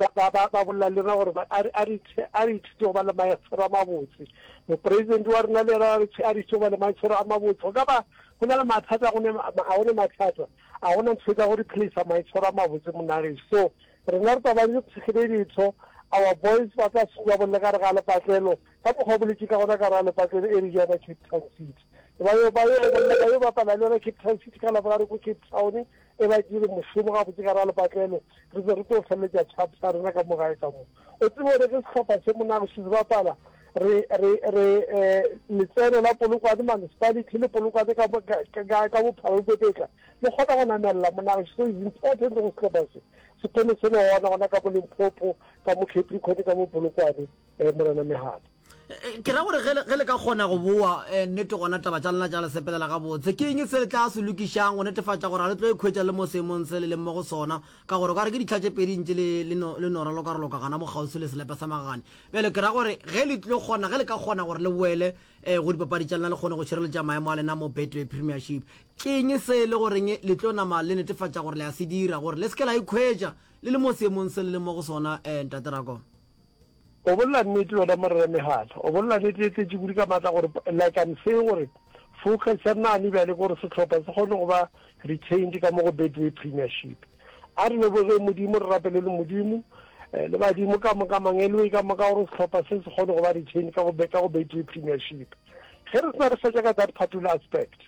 Ba, ba, ba, ba bolela le rena gore ba, a re, a re, a re ithute go ba le maitshwaro a mabotse. Mopresidente wa rena le yena a re, a re ithute go ba le maitshwaro a mabotse. Go ka ba go na le mathata, go ne, ga go ne mathata. Ga go na ntho e ka go replacer maitshwaro a mabotse monna gešo. So, rena re tla ba re tshegile ditho, our boys ba tla suka bolle ka re ga lepatlelo, ka mokgwa o boletše ka gona ka re ga lepatlelo e re yona Cape Town City. Ba yo, ba yo, ba yo bapala le yona Cape Town City ka Laboraro ko Cape Town, e ba dire mošomo gabotse ka ra lepatlelo, re be re tlo feleletša tšhapo sa rena ka mo gae ka mo. O tsebe gore ge sehlopha se monago se bapala, re, re, re, eh, letseno la Polokwane municipality le Polokwane ka, ka, ka, ka bophara bo pepetla, le kgona go namelela monago. So it's important go sehlopha se se kgone se le gona gona ka mo Limpopo, ka mo Capricorn, ka mo Polokwane, eh, Morena Megala. Ke ra gore ge le ka kgona go boa, nnete gona taba tša lena tša le sepelela gabotse. Ke eng se le tla se lokišang go netefatša gore ga le tlo ikhwetša le mo seemong se le leng mo go sona? Ka gore o ka re ke ditlha tše pedi ntše le, le no, le no ralokaraloka gana mo kgauswi le selepe sa magagane. Bjale ke ra gore ge le tlo kgona, ge le ka kgona gore le boele go dipapadi tša lena le kgone go šireletša maemo a lena mo Betway Premiership, ke eng se e le goreng le tlo nama le netefatša gore le a se dira gore le se ke la ikhwetša le le mo seemong se le leng mo go sona, Ntate Rakoma? O bolela nnete wena Morena Megala. O bolela nnete e tletše kudu ka maatla gore like I'm saying gore focus ya nane bjale ke gore sehlopha se kgone go ba retained ka mo go Betway Premiership. A re lebogeng Modimo, re rapele le Modimo eh, le badimo ka moka, mangeloi ka moka gore sehlopha se se kgone go ba retained ka go ka go Betway Premiership. Ge re sena re fetša ka that particular aspect,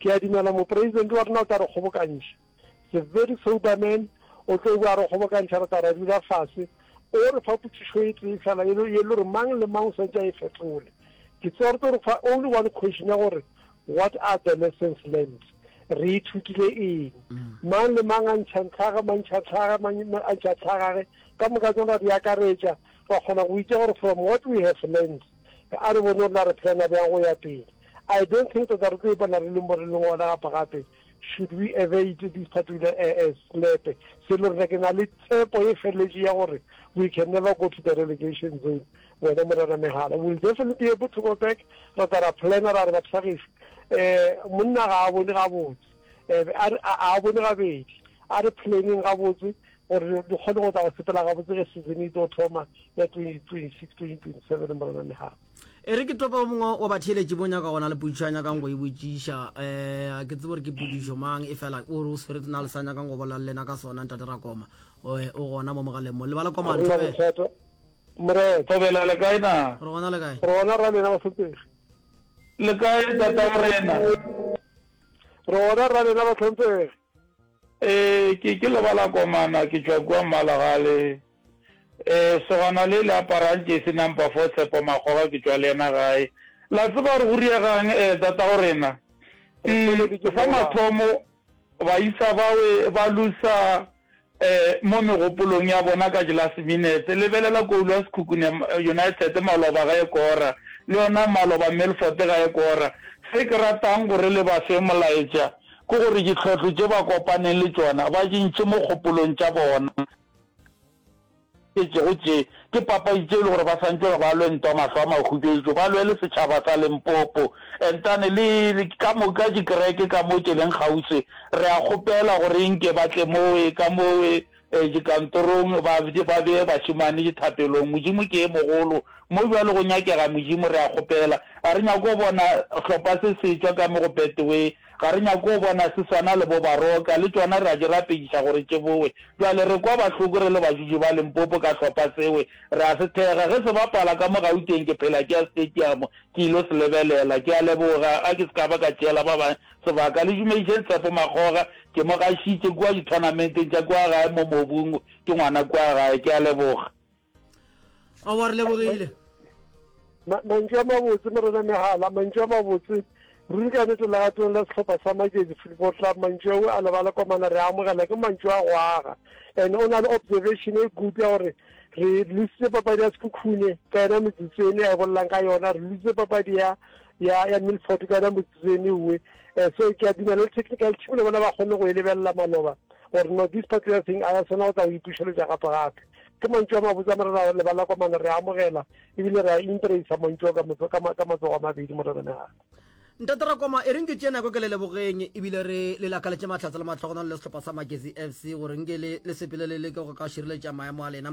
ke a dumela mopresidente wa rena o tla re kgobokantšha. The very sober man o tlo bua re kgobokantšha re tla ra dula fase o re fa potšišo e tee fela e le gore mang le mang o swantse a e fetole. Ke tseba re tlo re fa only one question ya gore what are the lessons learned, re ithutile eng? Mang le mang a ntšha ntlhage, mang ntšha tlhaga, mang a ntšha tlhagage, ka moka tsona ra di akaretša ra kgona go itse gore from what we have learned a re bone gore na re plana bjang go ya pele. I don't think tota re tlo ipona re le mo re leng gona gape gape. Should we evade this particular selepe se le rena ke na le tshepo e feleletše ya gore we can never go to the relegation zone wena Morena Megala we will definitely be able to go back ra tla ra planner ra re batho ba gešo um monna ga a bone gabotse um a bone gabedi a re planning gabotse gore di kgone go tla go sepela gabotse ge season e tlo thoma ya 2026 2027 Morena Megala. E re ke topa o mongwe wa batheeletši bo nyaka gona le potšišo a nyakang go e botšiša. Um a ke tsebe gore ke potšišo mang, e fela o re o swere na le sa nyakang go bolela le lena ka sona, Ntate Rakoma. O, o gona mo mogaleng mo. Lebala Koma, Re na Thobela. bothata. Morena. Thobela, le kae na? Re gona le kae? Re gona ra lena bahlomphegi. Le kae tatago rena? Re gona ra lena bahlomphegi. Ee, ke, ke Lebala Komana, ke tšwa kua Mmalagale. Ee, sogana le le aparang jesi number 4 Tshepo Makgoga ke tšwa le yena gae. La tseba gore go riegang eh tatago rena? Mm, sa mathomo baisa bawe ba lusa eh mo megopolong ya bona ka last minute. Lebelela koulo ya Sekhukhune United maloba ga e kora, le yona maloba Milford ga e kora. Se ke ratang gore le ba fe molaetša ke gore ditlhohlo tše ba kopaneng le tšona ba di ntšhe mo kgopolong tša bona. Tšego tše ke papadi tše e le gore ba santše gore ba lwe ntwa mahlo a mahubetšo, ba lwele setšhaba sa Limpopo. Entane le ka moka dikereke ka mo tše leng kgauswi, re a kgopela gore nke ba tle mowe ka mowe dikantorong ba ba bee bašemane dithapelong. Modimo ke e mogolo. Mo bjalo go nyakega Modimo, re a kgopela. Ga re nyake go bona hlopha se se tšwa ka mo go Betway. Ga re nyake go bona se swana le bo Baroka, le tšona re a di rapediša gore tše bowe. Bjale re kwa bahloko re le bajuji ba Limpopo ka hlopha sewe, re a se thekga. Ge se bapala ka mo Gauteng ke phela ke ya stadium ke ilo se lebelela. Ke a leboga, a ke se ka ba ka tšeela ba bang sebaka. Le dumedišeng Tshepo Makgoga, ke mo gašitše kua dithonamenteng tša kua gae mo mobung, ke ngwana kua gae. Ke a leboga. Aowa, re lebogile. Mantšu a mabotse, Morena Megala, mantšu a mabotse. Ruri ka nnete legatong la sehlopha sa Magezi Football Club, mantšu ao a lebala komana re a amogela, ke mantšu a go aga. And o na le observation e good ya gore re lositse papadi ya Sekhukhune ka yona metsotso ene a e bolelang ka yona, re lositse papadi ya ya ya Milford ka yona metsotso ene uwe. Eh, so ke a dumela le technical team le bona ba kgonne go e lebelela maloba gore no this particular thing a ya swana go tla go ipušeletša gape gape. Ke mantšu a mabotse a Morena Lebala Komana, re a amogela ebile re a embracer mantšu ao ka, ka, ka matsogo a mabedi, Morena Megala. Ntate Rakoma, e reng ke tšee nako ke le lebogeng ebile re le lakaletše mahlatse le mahlogonolo le sehlopha sa Magesi FC gore nke le, le sepele le leke go ka šireletša maemo a lena.